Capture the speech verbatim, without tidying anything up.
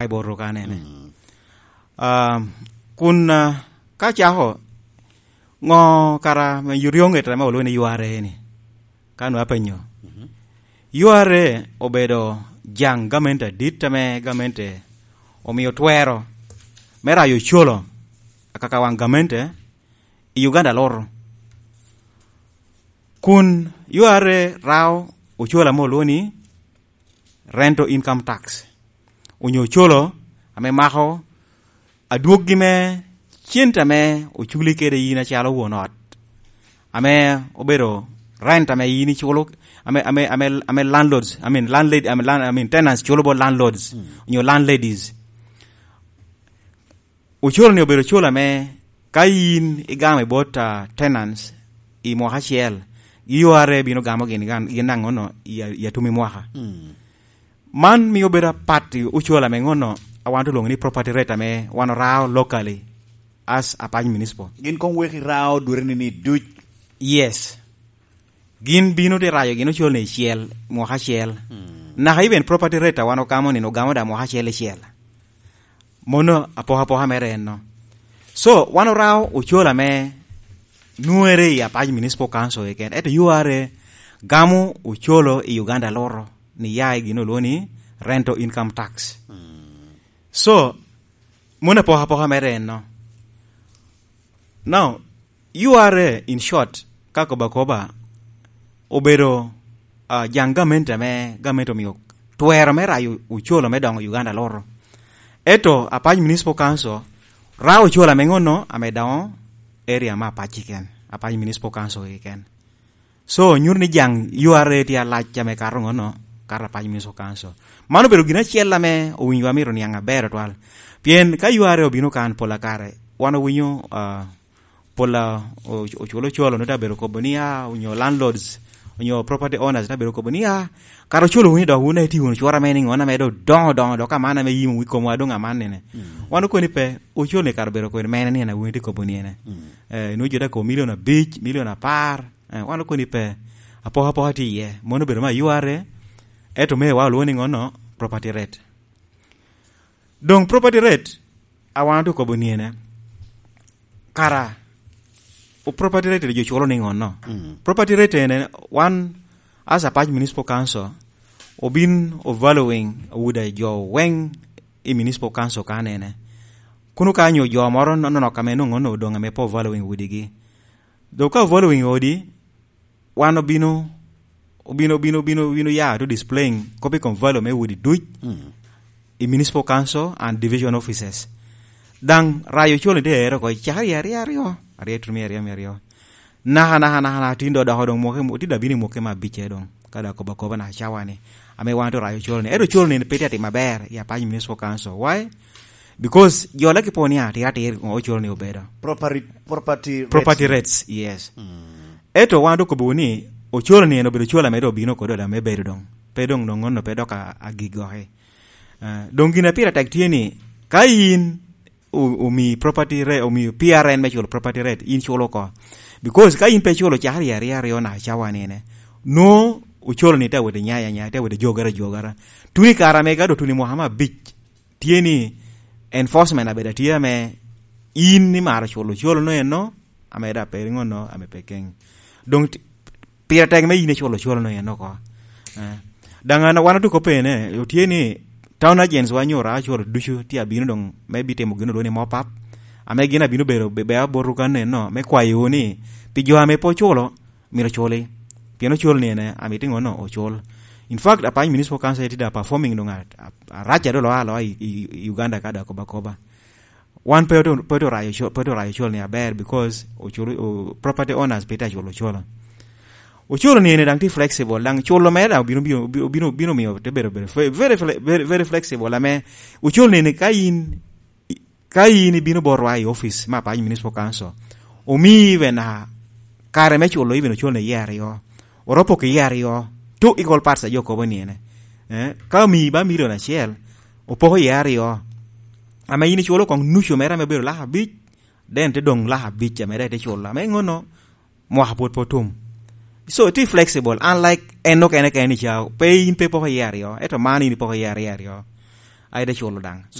i bot ruka nene. Mm. Ah, kun, ah, ka cako, ngo kara me yuryoŋet ame olwoŋo ni U R A ni? Ka nwa apenyo. Mhm. U R A obedo jaŋ gamente adit ame gamente omio twero me rayo ocolo akaka waŋ gamente i Uganda loro. Kun U R A rao ocolo ame olwoŋo ni rental income tax, onyo ocolo ame mako adwoggi me cente ame oculi kede yin acalo won ot, ame obedo rent ame yin iculo, ame, ame, ame, ame landlords, I mean, landlady, ame land-, I mean, tenants culo bot landlords, mm, onyo landladies. Ocolo ni obedo ocolo ame ka yin igamo i bot, ah, tenants i mwaka acel, U R A bino gamo gin, gin, gin naŋono i, i atum i mwaka. Mm. Man mio bedo apat i ocol ame ŋono a wan olwoŋo ni property rate ame wan orao locally as Apac Municipal. Gin koŋ wek irao dweri ni, ni duc. Yes. Gin bino te rayo gin ocol ni icel, mwaka acel. Hmm. Naka even property rate a wan ogamo ni, ogamo da mwaka acel icel. Mono apokapoka mere enno. So, wan orao ocol ame nwere i Apac Municipal Council keken. Ento U R A gamo ocolo i Uganda loro ni ya i gin olwoŋo ni rental income tax. Mm. So, mono apokapoka mere enno. Now, U R A, in short, ka kobo akoba, obedo, ah, jaŋ gamente ame gamente omio twero me rayo ocolo me doŋo Uganda loro. Ento Apac Municipal Council rao ocolo ame ŋono ame doŋo area me Apac keken, Apac Municipal Council keken. So, nyuto ni jaŋ U R A tye alac ame kato ŋono, kato Apac Municipal Council. Man obedo gin acel ame owinyowa myero oniaŋ aber otwal. Pien ka U R A obino kan pol a kare, wan owinyo, ah, pol a o-, oculo ocolo, nwoŋo te abedo kobo ni, ah, onyo landlords, onyo property owners te abedo kobo ni, ah, kara ocolo wunu dok wun iti wunu cwora me ni ŋo ame dok doŋo doŋo, dok aman ame yimo wi komwa doŋ aman nene. Mm. Wan okoni pe, ocolo ni kara obedo kodi mene ni en a wun iti kobo ni ene. Mm. Eh, nwoŋo jo dok kobo milion abic, milion apar, eh, wan okoni pe, apoka apoka tye iye. Mono obedo me U R A, ento me wa olwoŋo ni ŋono property rate. Doŋ property rate, a wan okobo ni ene, kara, o property rate jo culo ni ŋono? Mm. Property rate ene, wan, as Apac Municipal Council, obin o valuing udi a jo weŋ i Municipal Council kan ene. Kuno ka nyo jo moro no-, nonok ame nwoŋo no odoŋ ame pe o valuing udigi. Dok ka o valuing odi, wan obino, obino, obino, obino, obino ya to displaying kop i kom value me udi duc, mm, i Municipal Council and Division Offices. Daŋ rayo ocol ni te ero oko, cakere i aryo aryo, aryo i tuno me aryo, me aryo. Naka, naka, naka, naka, tin do doko doŋ mwoke, tin do abino i mwoke me abicce doŋ, ka dok akobo akoba naka cawa ni, ame wan to rayo ocol ni. Ento ocol ni pe tye atim aber i Apac Municipal Council. Why? Because jo laki po ni atir atir, ŋo ocol ni obedo? Property, property rates. Property rates, yes. Mm. Ento wan dok kobo ni, ocol ni en obedo ocol ame dok obino kode ame bedo doŋ. Pe doŋ, doŋ onno pe dok a-, agik goki. Eh, doŋ gin a pire tek tye ni, ka in o-, omi property re-, omi P R N me culo property rate, in culo oko. Because ka in pe culo cakere i aryo aryo naka cawa ni ene, nwoŋo ocol ni te awot i nyaya nyaya, te awot i jogere jogere. Tuni kare ame ka dok tuni mwaka me abic, tye ni enforcement abedo atye ame in imaro culo ocolo no eno, ame da pe ŋo no, ame pe keŋ. Doŋ ti-, pire tek me in iculo ocolo no eno oko. Eh, daŋ an, wan otuko pene, otye ni town agents wa nyo ra ocolo ducu tye abino doŋ me bitimo gin olwoŋo ni mop up, ame gin abino bedo be-, be aboto kan eno, me kwayo ni pi jo ame pe oculo, myero oculi. Pien ocol ni ene, amito ŋo no ocul. In fact, Apac Municipal Council tye da performing doŋ a-, a-, arac ado loa aloa i, i, i Uganda ka da koba koba. Wan pe oto-, pe oto rayo co-, pe oto rayo ocol ni aber because ocul, o-, property owners pe tye aculo ocolo. Ocol ni ene daŋ tye flexible, daŋ culo mere daŋ obino, bino, bino, bino, bino miyo te bedo, bedo fe-, very fle-, very, very flexible, ame ocol ni ene ka in, ka in ibino botwa i office me Apac Municipal Council, omi even, ah, kare me culo even ocol ni iye aryo, oropo ki iye aryo, two equal parts a jo kobo ni ene. Eh, ka omi ba milion acel, opoko iye aryo, ame in iculo koŋ nucu mere ame obedo lak abic, then te doŋ lak abic ame dok ite culo. Ame ŋono, mwaka pwod pe otum. So, tye flexible, unlike en okene kene ni ca, pe in pe ipoko iye aryo, ento man in ipoko iye aryo aryo. Aye te culo daŋ.